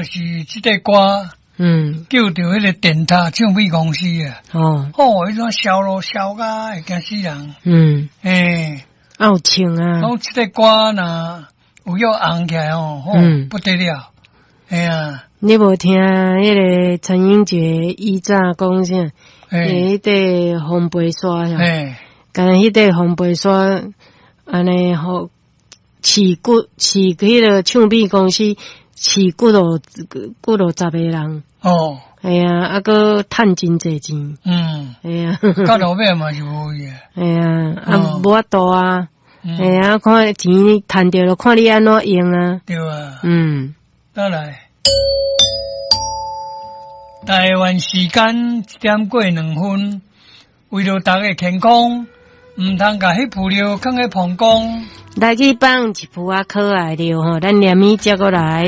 就是這塊歌，救著彼個電塔唱片公司啊。哦，彼陣銷路銷甲會驚死人。啊有唱啊。講這塊歌若有欲紅起來哦，不得了。嘿啊。你無聽彼個陳英傑以早講啥？彼塊風飛沙呀。敢若彼塊風飛沙，按呢予飼骨飼彼個唱片公司飼幾落幾落十个人。嘿啊，啊閣趁真濟錢。嘿啊。到落尾嘛是無去。嘿啊，啊無法度啊。嘿啊，看錢趁著了，看你按怎用啊。對啊。再來。台灣時間1點過2分，為著大家健康，毋通共彼浮尿囥佇膀胱。來去放一浮仔可愛尿吼，咱連咪接過來。